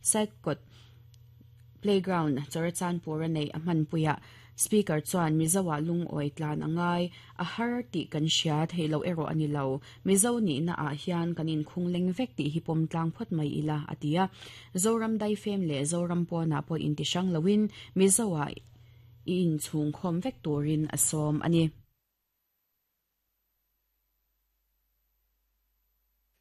Saikawt Playground Chawrachanpur a neih a hmanpuiah Speaker chuan Mizo-ah lungawi tlan a ngai, a har tih kan hria theih loh erawh a ni lo. Mizo nihna ah hian kan inkhung leng vek tih hi pawm tlang phawt mai ila, a ti a. Zoram daifem leh Zoram pawnah pawh inti hrang loin Mizo-ah i inchhungkhawm vek turin a sawm a ni.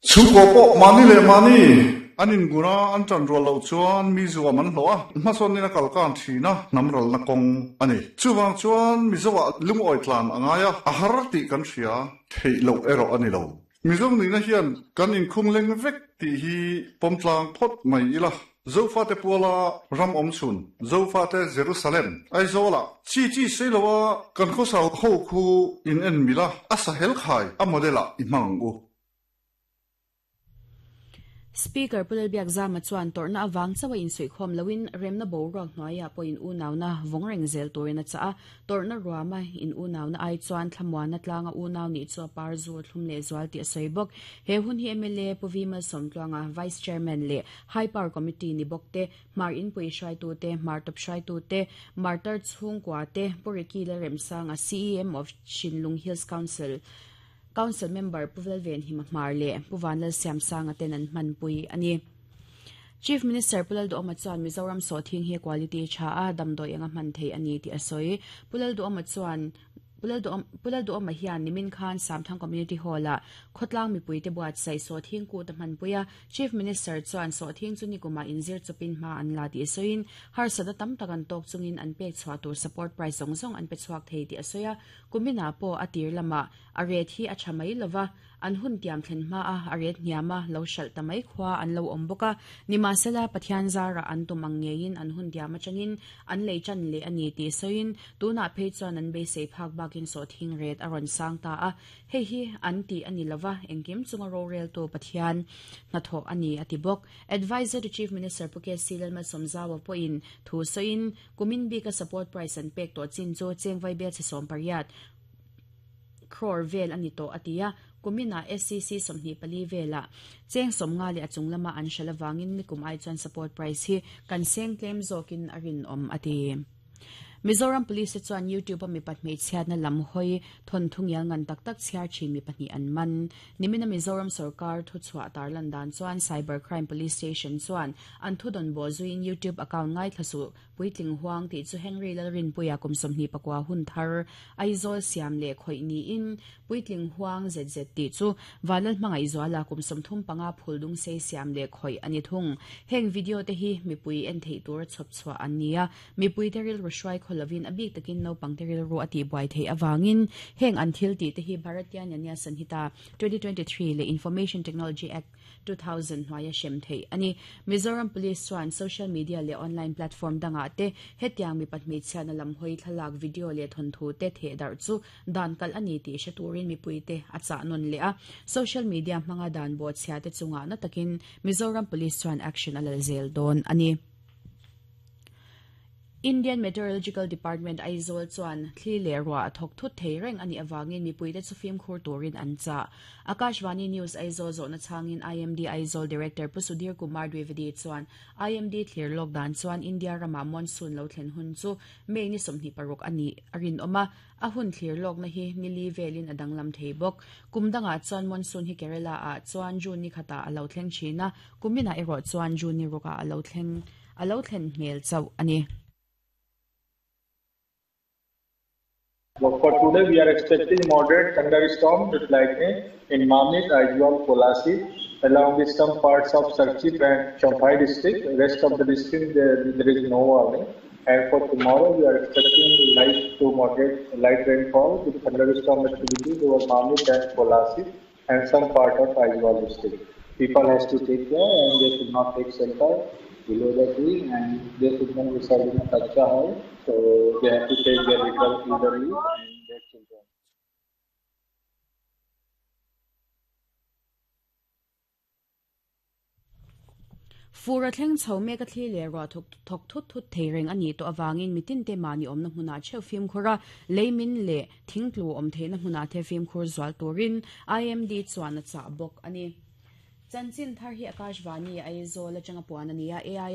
Chhungkaw pawh mahni leh mahni an ingun a, an ṭan rual loh chuan mi zuam an hlawh a, hmasawn in a kal kan ṭhin a, hnam ralna kawng a ni. Chuvang chuan Mizoah lungawi tlan a ngai a, a har tih kan hria theih loh erawh a ni lo. Mizo nihna hian kan inkhung leng vek tih hi pawm tlang phawt mai ila. Zofate puala ram awm chhun, Zofate Jerusalem, Aizawlah chi chi sei loa kan khawsa ho khu in en mil a, a sahel khai a model ah i hmang ang u. Speaker Pu Lalbiakzama chuan tawrhna avang chauha insuihkhawm loin remna boruak hnuaiah pawh in unauna vawng reng zel turin a chah a. Tawrhna ruama in unauna ai chuan thlamuanna tlanga unau nih chu a par zu a thlum leh zual tih a sawi bawk. He hun hi mla Pu V Malsawmtluanga, Vice Chairman leh High Power Committee ni bawk te, Hmar Inpui hruaitute, Hmar Tawp hruaitute, Martar chhungkua te, Pu Ricky Lalremsanga, CEM of Shinlung Hills Council, Council Member Pu Velvenhima Hmar leh Pu Vanlalsiamsanga ten an hmanpui a ni. Chief Minister Pu Lalduhoma chuan Mizoram sawhthing hi quality tha a, damdawi anga hman theih a ni tih a sawi. Pu Lalduhoma chuan Pu Lalduhoma hian nimin khan Samthang Community Hall-ah khawtlang mipuite buatsaih sawhthing kut a hmanpui a. Chief Minister chuan sawhthing chu nikumah inzir chawpin hma an la tih a sawiin, harsatna tam tak an tawk chungin an pek chhuah tur support price zawng zawng an pe chhuak thei tih a sawi a. Kuminah pawh a tir lamah a ret hi a tha mai lova, An hun tiam thlen hma a, a ret hniam a, lo hralh ta mai khua an lo awm bawk a. Nimahsela, Pathian zarah an tum ang ngeiin an hun tiam atangin an lei tan leh a ni tih sawiin, tunah phei chuan an beisei phak bakin sawhthing ret a rawn sang ta a. Hei hi an tih a ni lova, engkim chunga roreltu Pathian hnathawh a ni a ti bawk. Adviser to Chief Minister Pu KC Lalmalsawmzaua pawhin thu sawiin, kumin bika support price an pek tawh chin chu cheng vaibel chhe 18, Crore vel a ni tawh a ti a, kuminah SCC 24 velah cheng 50 leh a chung lama an hralh avangin nikum ai chuan support price hi kan seng tlem zawkin a rinawm a ti. Mizoram Police te chuan YouTube a mipat hmeichhiatna lam hawi thawnthu ngial ngan tak tak chhiar thin mi pahnih an man. Nimina Mizoram sorkar thuchhuah tarlan dan chuan Cyber Crime Police Station chuan an thudawn bawh zuiin YouTube account ngaithla suh Puitling huang tih chu Henry Lalrinpuia kum 24 hun thar Aizawl siam leh khawih niin Puitling huang ZZ tih chu Vanlal Hmangaihzuala kum 35 phul dung sei siam leh khawih a ni thung. Heng video te hi mipui en theih tura chhawp chhuah an ni a, mipuite rilru hruai khaw lovin a bik takin naupangte rilru a tihbuai theih avangin heng an thil tih te hi Bharatiya Nyaya Sanhita 2023 leh Information Technology Act 2000 hnuaia hrem theih a ni. Mizoram Police chuan social media leh online platform dangah te hetiang mipa hmeichhiatna lam hawi thlalak, video leh thawnthu te theh darh chu dan kalh a ni tih hre turin mipuite a chah nawn leh a. Social media hmanga dan bawhchhia te chungah na takin Mizoram Police chuan action a lal zel dawn a ni. Indian Meteorological Department Aizawl chuan thli leh ruah a thawk thut thei reng a nih avangin mipuite chu fimkhur turin an chah. Akashvani News Aizawl zawhna chhangin IMD Aizawl Director Pu Sudhir Kumar Dwivedi chuan IMD thlir lawk dan chuan India ramah monsoon lo thlen hun chu May ni 26 a nih a rinawm a, a hun thlir lawkna hi ni li velin a danglam thei bawk. Kum dangah chuan monsoon hi Kerala ah chuan June ni khatah a lo thleng thin a, kuminah erawh chuan June ni rukah a lo thleng. A lo thlen hmel chauh a ni. For today we are expecting moderate thunderstorm with lightning in Mamit, Aizawl, Kolasib along with some parts of Serchhip and Champhai district. Rest of the district there, there is no warning. And for tomorrow we are expecting light to moderate light rainfall with thunderstorm activities over Mamit and Kolasib and some part of Aizawl district. People has to take care and they should not take shelter below the tree and they should not reside in a kacha house. So they have to take their elderly and their children. Fur a thleng chho mek a thli leh ruah thawk thawk thut thut thei reng a nih tawh avangin mitinte mahni awmna hmunah theuh fimkhur a, leimin leh thingtlu awm theihna hmunah te fimkhur zual turin IMD chuan a chah bawk a ni. Chanchin thar hi Akashvani Aizawl atanga puan a ni a.